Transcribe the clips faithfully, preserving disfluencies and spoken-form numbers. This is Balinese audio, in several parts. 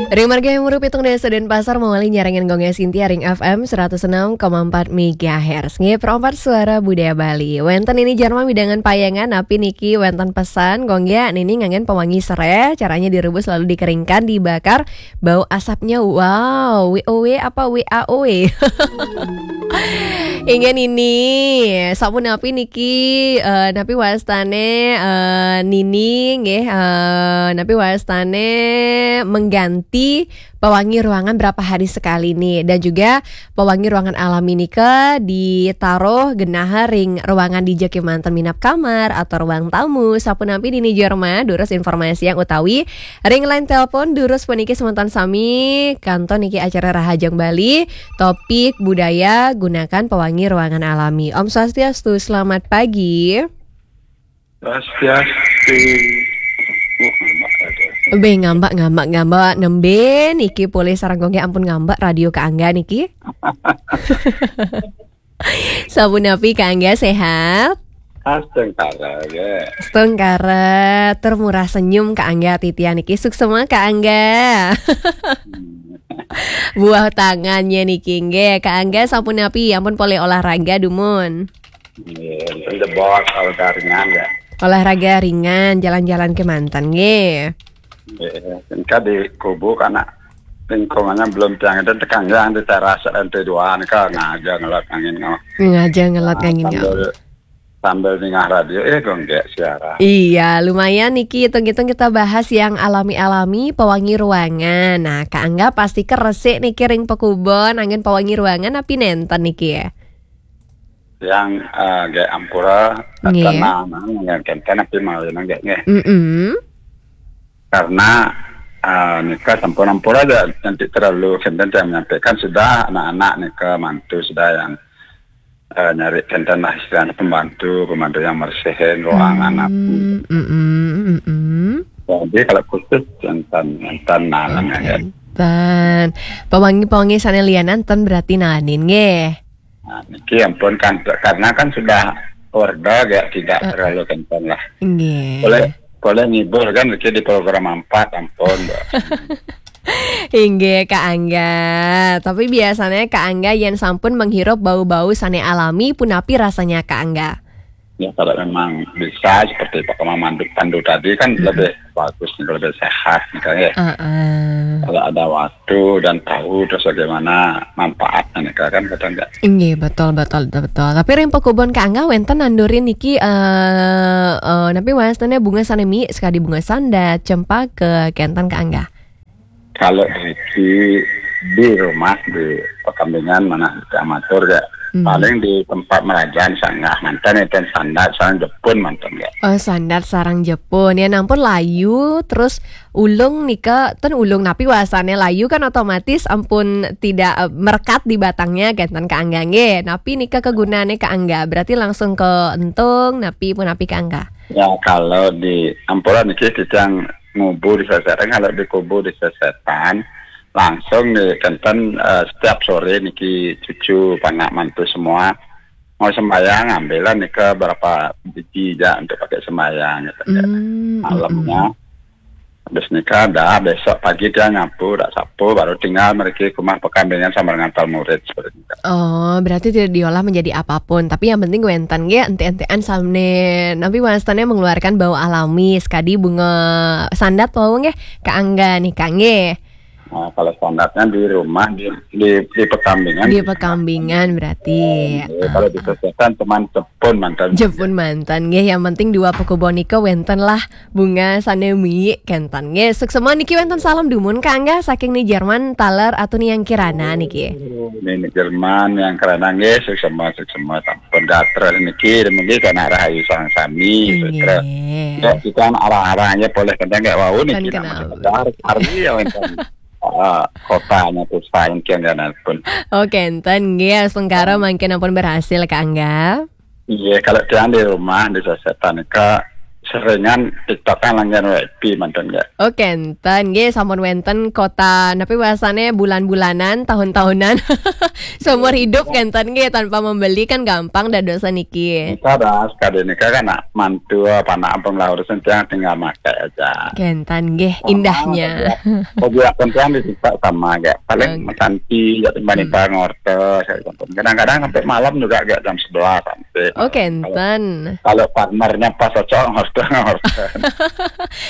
Ring margi umur pitung dasa Denpasar mawali nyarengin Gong Sintia ring F M seratus enam koma empat megahertz. Nggih, perempat suara budaya Bali. Wénten niki jar mamidangan payangan, napi niki wénten pesan, Gong, niki nganggén pewangi serai, caranya direbus lalu dikeringkan, dibakar, bau asapnya, wow, W O W apa W A O W? Inggih nini, sapunapi niki, eh, napi wastane, eh, nini, nggih, eh, napi wastane mengganti pewangi ruangan berapa hari sekali nih. Dan juga pewangi ruangan alami nika ditaruh genah ring ruangan dija kemanten minab kamar atau ruang tamu. Sapunapi nini jar ma, durus informasi yang utawi ring line telepon durus puniki semeton sami, kantun niki acara Rahajeng Bali, topik budaya gunakan pewangi ruangan alami. Om Swastiastu, selamat pagi. Swastiastu. Oh, ngambak ada. Be ngambak, ngambak, ngambak, nembe niki polih sareng Gong, ampun ngambak radio Kak Angga niki. Sapunapi Kak Angga, sehat? Astungkara, ya. Astungkara, tur murah senyum Kak Angga titiang niki. Suksema Kak Angga. Buah tangannya niki nggih. Kak Angga sapunapi, ampun polih olahraga dumun? Nggih, ampun jebos olahraga ringan ya. Olahraga ringan, jalan-jalan kemanten nggih. Nggih, engka di kubu kana lingkungannya belum tiang itu tekanggang di teras lantai dua nika ngaja ngelot angin ngau. Ngaja ngelot angin ngau. Sambil, sambil ningah radio, eh, Gong, nggih siaran. Iya, lumayan niki hitung-hitung kita bahas yang alami-alami, pewangi ruangan. Nah, Kak Angga pasti keresik niki ring pekubon, angin pewangi ruangan, napi nenten niki ya? Yang, eh, nggih ampura, nggih. Karena, nah, yang kenten napi mawinan nggih, nggih. Mm-mm. Karena, eh, nika sampun ampura aja, nanti terlalu kenten saya menyampaikan sudah anak-anak nika mantu sudah yang, eh, nyari kenten lah istilahnya pembantu, pembantu yang mersihin ruangan napi. Mm-mm, mm-mm. Jadi kalau khusus enten, enten nalang ya. Enten. Pewangi-pewangi sane lianan ten berarti nalanin nggih. Nah, niki ampun kan, karena kan sudah order ya, tidak terlalu kencang lah. Nggih. Boleh, boleh ngibur kan niki di program empat, ampun, Mbak. Inggih, Kak Angga. Tapi biasanya Kak Angga yen sampun menghirup bau-bau sane alami, punapi rasanya Kak Angga? Ya, kalau memang bisa seperti Pak Kama Mandu Pandu tadi kan lebih bagus, lebih sehat nih, Kak, ya. Heeh. Kalau ada waktu dan tahu terus bagaimana manfaatnya nih, Kak, kan kadang nggak. Inggih, betul, betul, betul. Tapi ring pekubon Kak Angga wenten nandurin niki, eh, eh, napi wastane bunga sane mie, sekadi bunga sandat, cempaka, kenten Kak Angga? Kalau di, di rumah di pekambingan mana di amatur ya. Hmm. Paling di tempat merajan sanggah manten enten sandat sareng jepun manten ya. Oh, sandat sareng jepun. Ya nampun layu, terus ulung nika, ten ulung napi wasane layu kan otomatis ampun tidak, eh, merekat di batangnya, kenten Kak Angga nggih. Napi nika kegunane Kak Angga? Berarti langsung ke entung, napi punapi Kak Angga? Ya, kalau di ampura niki titiang ngubu di Sesetan, kalau di kubu di Sesetan, langsung nih kenten, eh, setiap sore niki cucu, panak, mantu semua mau sembahyang, ambilan nika berapa biji ja untuk pakai sembahyang gitu ya. Hmm, malamnya. Mm-mm. Habis nika dah besok pagi dia nyapu, dah sapu, baru tinggal mereka ke rumah pekambingan sama dengan murid seperti itu. Oh, berarti tidak diolah menjadi apapun, tapi yang penting wenten nggih ente-entean samne napi wastane mengeluarkan bau alami, sekadi bunga sandat wau nggih, Kak Angga nih, Kak, nggih. Nah, kalau sandatnya di rumah, di, di, di pekambingan. Di pekambingan berarti. Iya, kalau di Sesetan cuman jepun manten. Jepun manten nggih, yang penting dua pekubon nika wenten lah bunga sane mie kenten nggih. Suksema niki wenten salam dumun Kak Angga saking ni Jerman taler atau ni yang kirana niki. Ni, ni Jerman yang kirana nggih, suksema, suksema sampun gatra niki, niki kana rahayu sareng sami, nggih. Sutra. Ya, kita arah-arahnya boleh kenten nggih wau niki. Kan nama kenal. Sekedar, arti ya wenten. Ah, kotanya tuh saking kian pun. Oke, enten nggih, astungkara mangkin ampun berhasil Kak Angga. Iya, kalau tiang di rumah di Sesetan nika seringan TikTok kan langian W P mantun, nggih. Oh, kenten nggih, sampun wenten kota, napi bahasane, bulan-bulanan, tahun-tahunan. Seumur hidup kenten nggih, tanpa membeli kan gampang dadosan niki. Nika dah, sekali nika kan nak mantu apa nak ampun lah urusan tiang tinggal makai aja. Kenten nggih, sama indahnya. Bagi, bagi akun tiang di TikTok sama, nggih. Paling, oke, santi, ya, timbang-timbang, hmm, ngorta, saya sampun. Kadang-kadang sampai malam juga, nggih, jam sebelas sampai. Oh, kenten. Kalau partnernya pas cocok, ngorta, ngorta.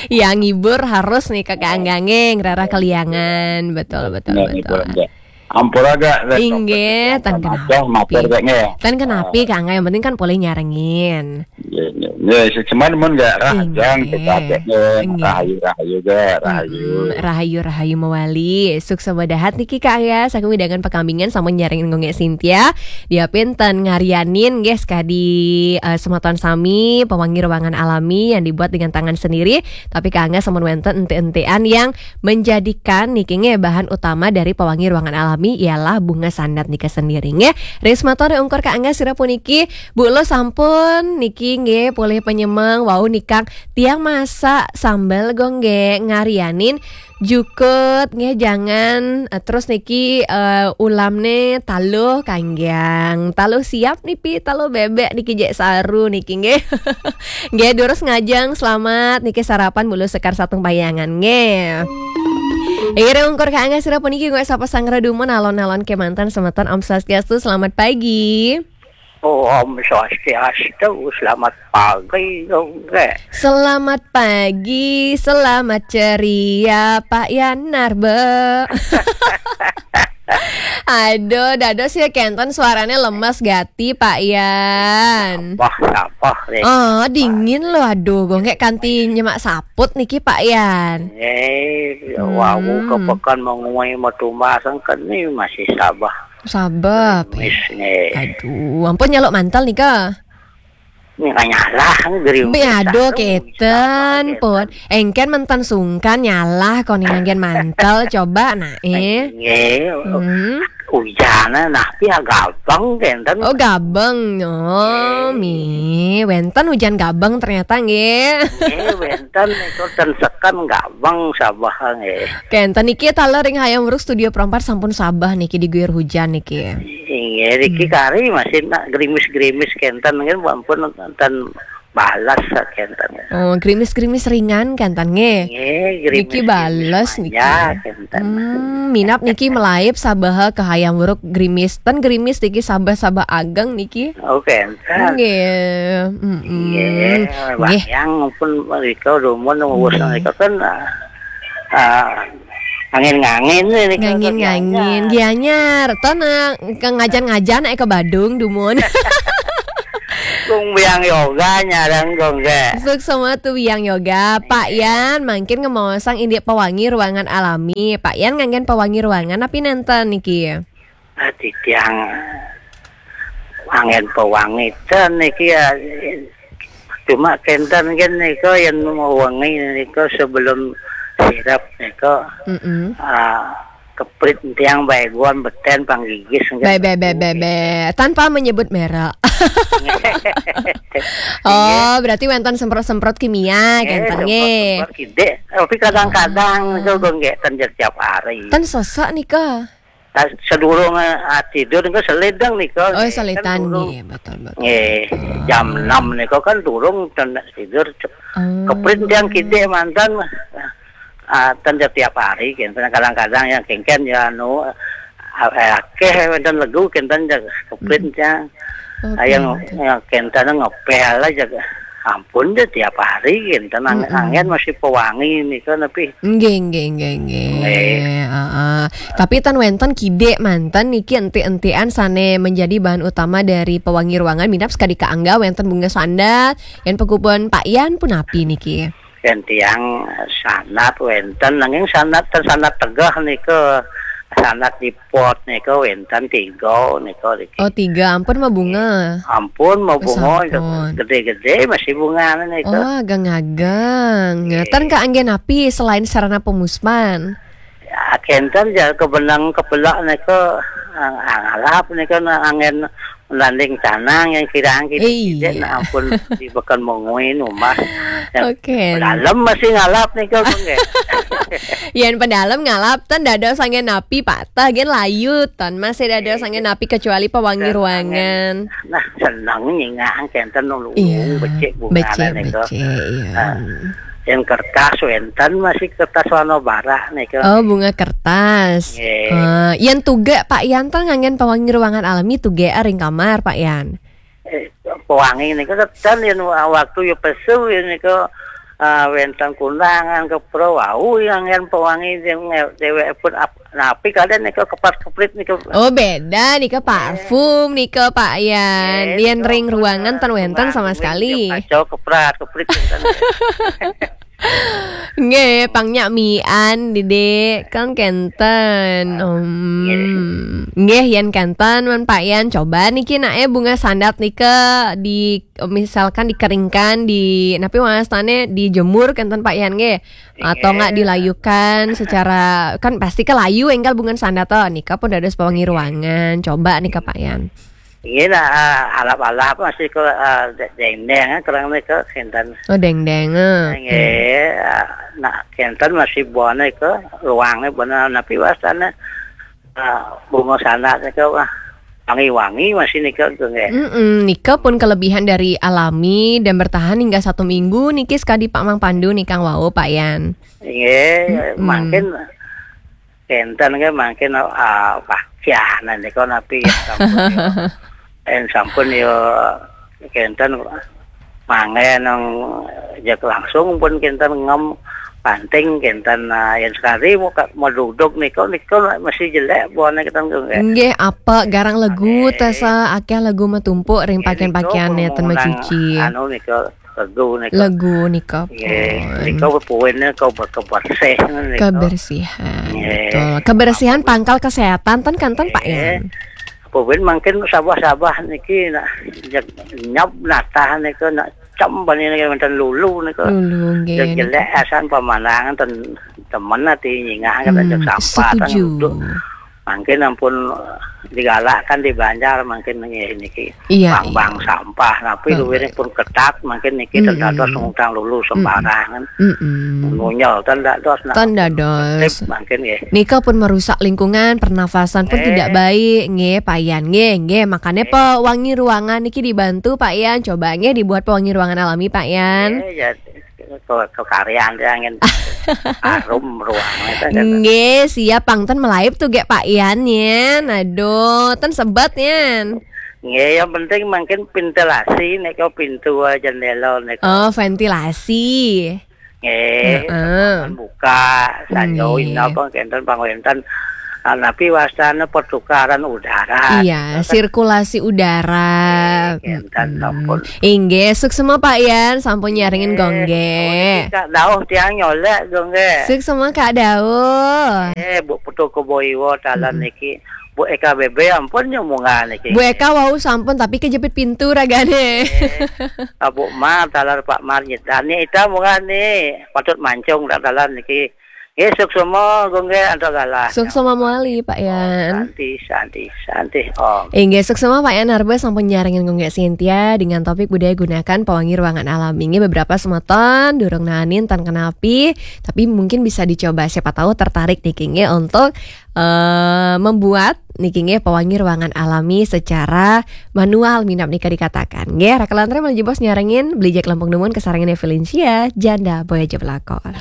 Ya, ngibur harus nih, Kakak Angga, nggih, ngrarah kaliangan. Betul, betul, betul. Nah, ngibur, nggih. Ampura, nggih, inggih, tan kenapi. Matur, nggih. Tan kenapi, Kak Angga, yang penting kan boleh nyarengin. Nggih, nggih. Nggih, sik seman mun, nggih, rahajeng, inggih, kita, nggih, inggih, rahayu, rahayu, nggih, rahayu. Mm-mm, rahayu, rahayu mawali. Sukses badahat niki, Kak Angga, saking wewidangan Pakambingan sampun nyarengin Gunggek Sintia. Dia pinten ngarianin, nggih, sekadi, eh, semeton sami, pewangi ruangan alami yang dibuat dengan tangan sendiri. Tapi Kak Angga sampun wenten enti-entian yang menjadikan niki nggih bahan utama dari pewangi ruangan alami ialah bunga sandat nika sendiri nggih. Ring semeton ungkur Kak Angga sira puniki, Bu Lo sampun niki nggih polih panyemeng wau nikang tiang masak sambel gonggek ngarianin jukut nggih jangan, eh, terus niki, eh, ulamne taluh kanggiang. Taluh siap nipi, taluh bebek niki jek saru niki nggih. Nggih, durus ngajeng, selamat niki sarapan bulu sekar satung payangan nggih. Inggih ungkur Kak Angga sira puniki nggih sapa sanggra dumun alon-alon kemanten semeton Om Swastiastu, selamat pagi. Oh, Om Swastiastu, selamat pagi, nggih. Selamat pagi, selamat ceria, Pak Yanar, Be. Aduh, dados ya kenten suaranya lemes gati, Pak Yan. Sabah, sabah, deh. Oh, dingin loh, aduh, gonggek kanti nyemak saput niki, Pak Yan. Eh, wau, hmm, ke pekan mengumai metumbasang keni masih sabah. Sabab. Gerimis, nggih. Aduh, ampun nyaluk mantel nika. Nika nyalah, gerimis. Be, aduh, aduh, keten, sabab, pun. Keten. Engken menten sungkan nyalah, kon nganggen mantel, coba, nah, eh. Nggih. Hmm. Ujane, nah, ya gabeng, kenten. Oh, gabeng. Oh, nggih, mi. Wenten ujan gabeng ternyata, nggih. Nggih, wenten, itu ten seken gabeng, sabah, nggih. Kenten niki taler ring Hayam Wuruk Studio Pro empat sampun sabah niki diguyur hujan niki. Inggih, niki, hmm, kari masih nak gerimis-gerimis kenten nggih, ampun ten balas kenten. Oh, gerimis-gerimis ringan kenten nggih. Nggih, niki gerimis-gerimis bales niki. Manja kenten. Hmm, minap niki melaib sabaha ka Hayam Wuruk gerimis. Ten gerimis niki sabah-sabah ageng niki. Oh, kenten. Nggih. Mm-mm. Nggih, nggih. Wayang pun rika dumun wus, nggih, rika kan, ah, ah, angin-ngangin nih, rika. Ngangin-ngangin. Gianyar. Gianyar. Ton, eh, ke ngajan-ngajan, eh, ke Badung dumun. Kung biang yoga nyarang kung ke. Suksma tu biang yoga. Pak, iya, Yan, mangkin ngemaosang indik pewangi ruangan alami. Pak Yan nganggen pewangi ruangan napi nenten niki? Ah, titiang anggen pewangi ten niki ya. Cuma kenten kan nika yang mau wangi nika sebelum sirap nika, mm-mm, ah, keprit tiang baeguan beten panggigis nggih. Be, be, be, be, be. Tanpa menyebut merek. Oh, berarti wenten semprot-semprot kimia, eh, kenten nggih. Semprot-semprot kidik. Tapi kadang-kadang, ah, itu gonggek ten tiap hari. Ten sesek nika. Ah, sedurung, ah, tidur niku selidang niku. Oh, nggih, kan selitan durung. Nggih, betul, betul. Nggih, ah, jam enam niku kan durung ten tidur. Ah. Keprit tiang kidik manten, ah, ten tiap hari, kenten kadang-kadang yang kengken ya anu, ah, eh, akeh wenten legu kenten ya keprit, hmm, tiang. Oke, yang, betul, yang kenten ngepel aja. Ampun deh, tiap hari kenten ang-, mm-mm, anggen masih pewangi niku napi. Nggih, nggih, nggih, nggih. Nggih. Heeh. Tapi ten wenten kidik manten niki enti-entian sane menjadi bahan utama dari pewangi ruangan, minab sekadi Kak Angga wenten bunga sandat, yen pekupun Pak Yan punapi niki? Yen tiang sandat wenten, nanging sandat ten sandat tegeh niku, sandat di pot niku wenten tiga niku niki. Oh, tiga, ampun mah bunga. Ampun mah bunga, sampun. Gede-gede masih bunga niku. Oh, ageng-ageng. Nggih. Ten kangge napi selain sarana pemuspan? Ya, kenten ya kebenang kepelak niku, ang-, angalap niku na-, anggen Landing canang yang kirang gitu. Iya. Tidak, nah ampun, di bekan mengui numah. Yang Oke. Dalam masih ngalap nih kok, nggih. Yang pedalem ngalap, ten dados angin api patah, gen layu, ten masih dados Eh, angin api kecuali pewangi dan ruangan. Angin. Nah, seneng nyingak kenten nulung Iya, becik bunga becik, nih kok. Becik, iya. Nah, yang kertas wenten masih kertas warna barak nih kok. Oh, bunga kertas. Nggih. Eh, yang tuge Pak Yan ten nganggen pewangi ruangan alami tuge ring kamar, Pak Yan. Eh, pewangi niku ten yen waktu ya pesu ya niku, eh, wenten kundangan ke pro wau yang yen pewangi yang dewek pun ap-, napi kalian niku kepar keprit niku. Oh, beda nika parfum nika Pak Yan. Eh, Yen niku ring ruangan ten wenten sama sekali. Kacau keprat keprit wenten. Nggih, pang nyak mian, Dede. Kang kenten. Om. Nggih. Nggih, yen kenten, man Pak Yan. Coba niki, nak, eh, bunga sandat nika di, misalkan dikeringkan, di, napi wastane, dijemur kenten, Pak Yan, nggih. Atau nggak dilayukan secara, kan pasti ke layu, enggal bunga sandat, toh. Nika pun dados pewangi ruangan. Coba nika, Pak Yan. Nggih, nah, eh, alap-alap masih ke, eh, de-, dengdeng, eh, kurang nika, kenten. Oh, dengdeng, eh. Nggih, eh, nak kenten masih buane ke ruange bener, napi wastane, eh, bunga sandat nika, wah, wangi-wangi masih nika, nggih. Mm-mm, nika pun kelebihan dari alami dan bertahan hingga satu minggu niki sekadi Pak Mang Pandu nika wau, Pak Yan. Nggih, Mm-mm. Mungkin kenten nggih mungkin, ah, pakaian nika napi ya sampun ya. En sampun ya kenten mangen nang jek langsung pun kenten ngem panting kenten, ah, yang sekali mau ka-, mau duduk nika, nika masih jelek buahnya kenten nggih. Nggih, apa garang legu Nggih. Tesa akeh legu metumpuk ring Nggih, pakaian-pakaian nika neten pun mencuci. Anu nika legu nika. Legu nika Nggih, pun. Nika puin nika ber-, kebersih nika. Kebersihan, Nggih. Betul. Kebersihan pangkal kesehatan ten kanten Pak Nggih. Yan. Puin mungkin sabah-sabah niki nak nyep-, nyap natah nika nak cem bani nika wenten lulu nika. Lulu, nggih. Jelek asan pemandangan ten temen ati nyingah kan Hmm, sampah ten setuju. Duduk. Mungkin ampun digalakkan di Banjar mungkin niki. Iya, bang-bang iya. Sampah, tapi Bang. Luwih pun ketat mungkin niki Mm-mm. Ten dados ngutang lulu sembarangan. Mm-mm. Ngunyel ten dados nak Ten dados. Tertib mungkin nggih. Nika pun merusak lingkungan, pernafasan pun Eh. Tidak baik, nggih, Pak Yan, nggih, nggih. Makanya Eh. Pewangi ruangan niki dibantu, Pak Yan. Coba nggih dibuat pewangi ruangan alami, Pak Yan. Eh, ya, ke, ke karyan dia angin harum ruangan itu kan. Nggih, siap pang ten melaib tuh gek Pak Yan yen. Aduh, ten sebet yen. Nggih, yang penting mungkin ventilasi nika pintu, eh, jendela nika. Oh, ventilasi. Nggih, heeh. Buka, sanyo Nggih. Ina apa kenten pang wenten. Ah, napi wastane pertukaran udara. Iya, kan? Sirkulasi udara. Nggih, kenten Mm-mm. Sampun. Inggih, suksma Pak Yan, sampun nyarengin Nggih. Gongge. Oh, niki Kak Dauh tiang nyolek Gongge. Suksma Kak Dauh. Eh, Bu Putu Kebo Iwo talan Mm-mm. Niki. Bu Eka B B ampun nyomungan niki. Bu Eka wau sampun tapi kejepit pintu ragane. Eh, ah, Bu Mar talan Pak Mar nyetani ita mungan ni. Patut mancung tak talan niki. Nggih, suksma, Gongge, antuk galah. Suksma mawali, Pak Yan. Santi, santi, santi, Om. Inggih, suksma Pak Yan Harba sampun nyarengin Gongge Sintia dengan topik budaya gunakan pewangi ruangan alami. Inggih, beberapa semeton durung nanin ten kenapi, tapi mungkin bisa dicoba. Siapa tahu tertarik niki nggih untuk, eh, membuat niki nggih pewangi ruangan alami secara manual minap nika dikatakan. Nggih, Raka Lantre menuju bos nyarengin, beli jak lempung dumun kesarengan Evelinsia, janda boy aja pelakon.